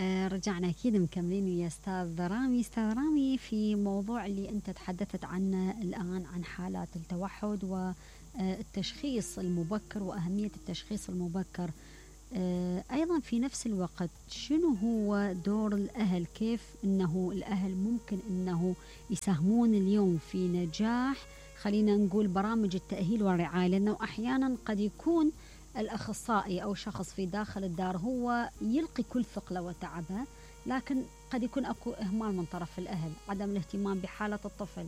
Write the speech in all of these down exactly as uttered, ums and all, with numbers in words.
آه رجعنا أكيد مكملين يا أستاذ رامي. أستاذ رامي، في موضوع اللي أنت تحدثت عنه الآن عن حالات التوحد والتشخيص المبكر وأهمية التشخيص المبكر، آه أيضا في نفس الوقت شنو هو دور الأهل؟ كيف أنه الأهل ممكن أنه يساهمون اليوم في نجاح خلينا نقول برامج التأهيل والرعاية؟ لأنه أحيانا قد يكون الأخصائي أو شخص في داخل الدار هو يلقي كل ثقله وتعبه، لكن قد يكون أكو إهمال من طرف الأهل، عدم الاهتمام بحالة الطفل.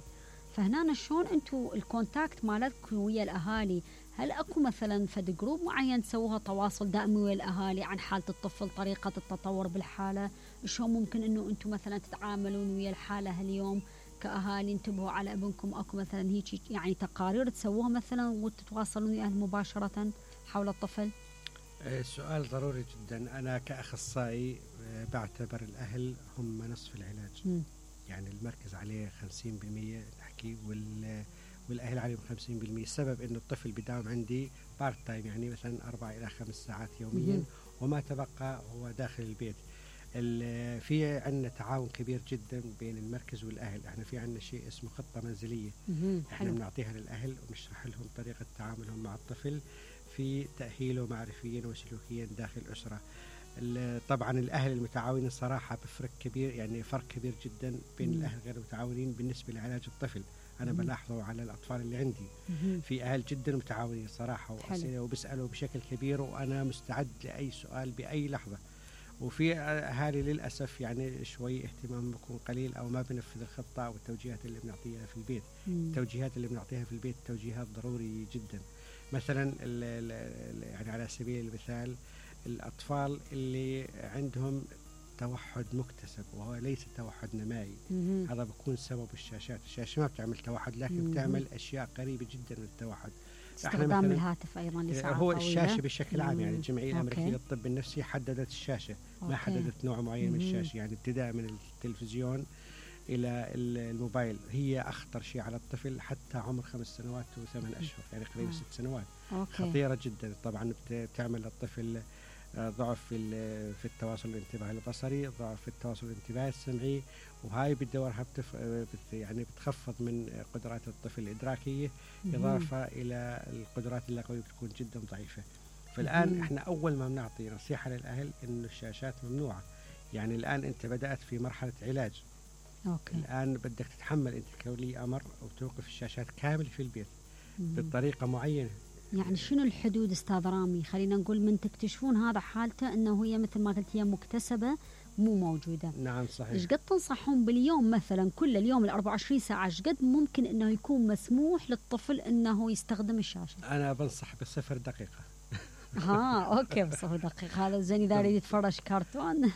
فهنا شلون أنتوا الكونتاكت مالتكم ويا الأهالي؟ هل أكو مثلا فد جروب معين تسووها تواصل دائمي ويا الأهالي عن حالة الطفل، طريقة التطور بالحالة؟ شلون ممكن أنه أنتوا مثلا تتعاملون ويا الحالة هاليوم كأهالي؟ انتبهوا على ابنكم، أكو مثلا هيك يعني تقارير تسووها مثلا وتتواصلون ويا الأهل مباشرة حول الطفل؟ سؤال ضروري جدا. أنا كأخصائي بعتبر الأهل هم نصف العلاج. م. يعني المركز عليه خمسين بالمية نحكي وال والأهل عليهم خمسين بالمية. السبب إنه الطفل بداوم عندي بارت تايم، يعني مثلا أربع إلى خمس ساعات يوميا، م. وما تبقى هو داخل البيت. في عندنا تعاون كبير جدا بين المركز والأهل. احنا في عندنا شيء اسمه خطة منزلية، احنا بنعطيها للأهل ونشرح لهم طريقة تعاملهم مع الطفل في تأهيله معرفيا وسلوكيا داخل الأسرة. طبعا الأهل المتعاونين صراحة بفرق كبير، يعني فرق كبير جدا بين مم. الأهل غير المتعاونين بالنسبة لعلاج الطفل. أنا مم. بلاحظه على الأطفال اللي عندي. مم. في أهل جدا متعاونين صراحة وأسئلة وبسألوا بشكل كبير، وأنا مستعد لأي سؤال بأي لحظة. وفي أهالي للأسف يعني شوي اهتمام بيكون قليل أو ما بنفذ الخطة أو التوجيهات اللي بنعطيها في البيت. مم. التوجيهات اللي بنعطيها في البيت توجيهات ضروري جدا. مثلا ال ال يعني على سبيل المثال الأطفال اللي عندهم توحد مكتسب وهو ليس توحد نمائي، مم. هذا بيكون سبب الشاشات. الشاشة ما بتعمل توحد، لكن مم. بتعمل أشياء قريبة جدا من التوحد. استخدام الهاتف أيضا لساعات هو طويلة. الشاشة بشكل عام، يعني الجمعية الأمريكية للطب النفسي حددت الشاشة، ما أوكي. حددت نوع معين مم. من الشاشة، يعني ابتداء من التلفزيون إلى الموبايل. هي أخطر شيء على الطفل حتى عمر خمس سنوات وثمان أشهر، يعني قريب آه. ست سنوات. أوكي. خطيرة جدا. طبعا بتعمل للطفل ضعف في في التواصل الانتباهي البصري، ضعف في التواصل الانتباهي السمعي، وهاي بدورها بتف... بت... يعني بتخفض من قدرات الطفل الإدراكية، إضافة إلى القدرات اللغوية بتكون جدا ضعيفة. فالآن إحنا أول ما بنعطي نصيحة للأهل إنه الشاشات ممنوعة. يعني الآن أنت بدأت في مرحلة علاج. أوكي. الآن بدك تتحمل أنت كولي أمر وتوقف الشاشات كامل في البيت مم. بطريقة معينة. يعني شنو الحدود أستاذ رامي؟ خلينا نقول من تكتشفون هذا حالته أنه هي مثل ما قلت هي مكتسبة مو موجودة. نعم صحيح. إيش قد تنصحون باليوم مثلا كل اليوم الأربعة وعشرين ساعة إيش قد ممكن أنه يكون مسموح للطفل أنه يستخدم الشاشة؟ أنا بنصح بصفر دقيقة. ها أوكي بصفر دقيقة. هذا زين إذا يريد يتفرج كرتون.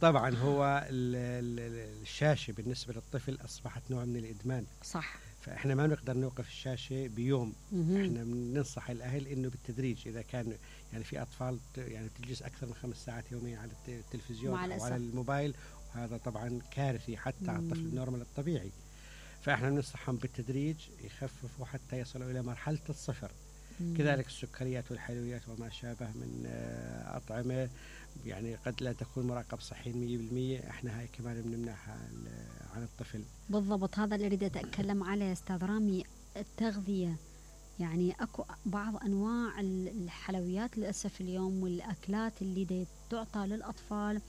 طبعا هو الشاشة بالنسبة للطفل أصبحت نوع من الإدمان. صح. فإحنا ما نقدر نوقف الشاشة بيوم. مم. إحنا بننصح الأهل إنه بالتدريج. إذا كان يعني في أطفال يعني تجلس أكثر من خمس ساعات يوميا على التلفزيون أو على الموبايل، وهذا طبعا كارثي حتى مم. على الطفل النورمال الطبيعي. فإحنا بننصحهم بالتدريج يخففوا حتى يصلوا إلى مرحلة الصفر. مم. كذلك السكريات والحلويات وما شابه من أطعمة يعني قد لا تكون مراقب صحي مية بالمية، احنا هاي كمان بنمنعها عن الطفل. بالضبط، هذا اللي اريد اتكلم عليه استاذ رامي. التغذية، يعني اكو بعض انواع الحلويات للاسف اليوم والاكلات اللي تعطى للاطفال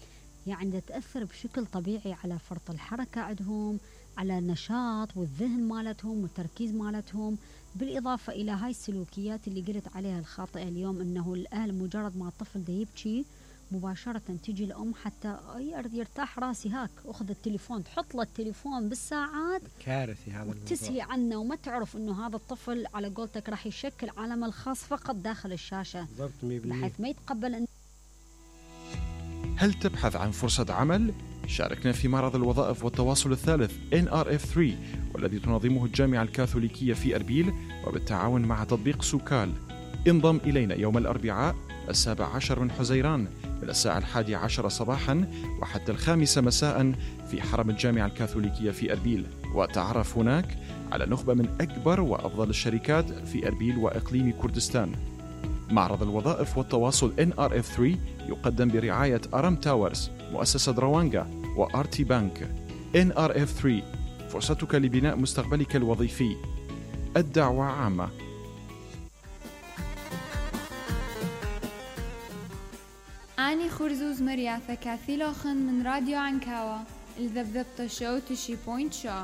يعني تاثر بشكل طبيعي على فرط الحركة عندهم، على النشاط والذهن مالتهم والتركيز مالتهم، بالاضافة الى هاي السلوكيات اللي قلت عليها الخاطئة اليوم، انه الاهل مجرد ما الطفل ده يبكي مباشرة تجي الأم حتى يرتاح راسي هاك أخذ التليفون، تحط له التليفون بالساعات. كارثي هذا الموضوع. تسهي عنه وما تعرف أنه هذا الطفل على قولتك راح يشكل عالمه الخاص فقط داخل الشاشة، بحيث ما يتقبل أن... هل تبحث عن فرصة عمل؟ شاركنا في معرض الوظائف والتواصل الثالث إن آر إف ثلاثة والذي تنظمه الجامعة الكاثوليكية في أربيل وبالتعاون مع تطبيق سوكال. انضم إلينا يوم الأربعاء السابع عشر من حزيران من الساعة الحادية عشر صباحا وحتى الخامسة مساء في حرم الجامعة الكاثوليكية في أربيل، وتعرف هناك على نخبة من أكبر وأفضل الشركات في أربيل وإقليم كردستان. معرض الوظائف والتواصل إن آر إف ثلاثة يقدم برعاية أرم تاورز، مؤسسة روانجا وآر تي بانك. إن آر إف ثلاثة، فرصتك لبناء مستقبلك الوظيفي. الدعوة عامة. أني خرزوز مريا ثكاثي لوخن من راديو عنكاوة الذبذبة شو تشي بوينت شو.